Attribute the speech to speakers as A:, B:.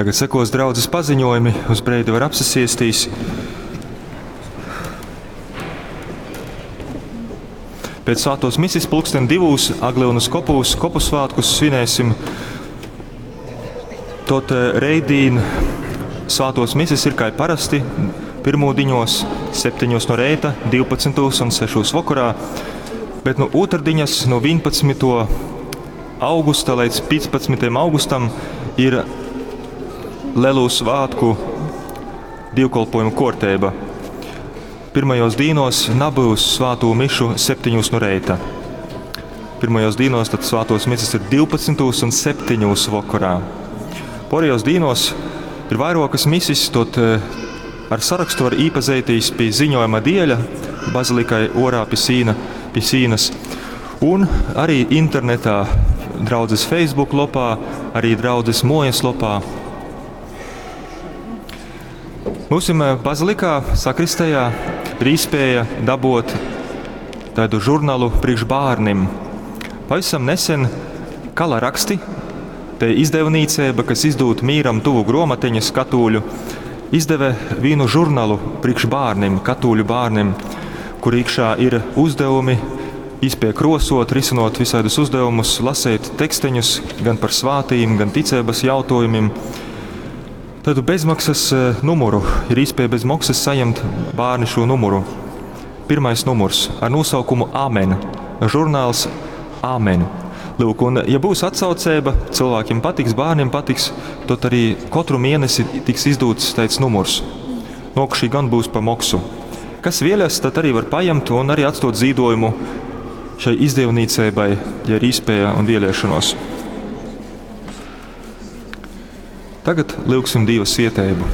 A: Tagad sekos draudzes paziņojumi, uz breidi var apsasiestīs. Pēc svētos misis pulksten divūs Aglyunas kopūs kopu svētkus svinēsim. Tot reidīn svētos misis ir kā parasti pirmūdiņos, 7 no reita, 12 un 6 vakarā, bet no otrdiņas no 11. Augusta līdz 15. Augustam ir Lelu svātku dievkalpojumu kārtība. Pirmajos dīnos nebūs svāto mišu 7 no reita. Pirmajos dīnos tad svātos misas ir 12 un 7 vakarā. Porejos dīnos ir vairokas misis, tot ar sarakstu var īpazeitīs pie ziņojuma dieļa bazilikai orā pie sīna, pie sīnas. Un arī internetā draudzes Facebook lopā, arī draudzes mojas lopā. Mūsim bazilikā, sakristējā, ir īspēja dabot tādu žurnalu priekš bērnim. Pavisam nesen Kala raksti, te izdevnīcība, kas izdūt mīram tuvu gromateņas katūļu, izdeve vienu žurnalu priekš bērnim, katūļu bērnim, kur iekšā ir uzdevumi, īspēja krosot, risinot visādus uzdevumus, lasīt teksteņus gan par svātīm, gan ticības jautājumiem. Tādu bezmaksas numuru ir iespēja bez maksas saņemt bērni šo numuru. Pirmais numurs ar nosaukumu Amen. Žurnāls Amen. Lūk, un, ja būs atsaucība, cilvēkiem patiks, bērniem patiks, tad arī katru mēnesi tiks izdots tāds numurs. Nokušī gan būs pa maksu. Kas vēlas, tad arī var paņemt un arī atstot zīdojumu šai izdevniecībai, ja ir īspēja un vēlēšanos. Tagad lūgsim Dieva svietēbu.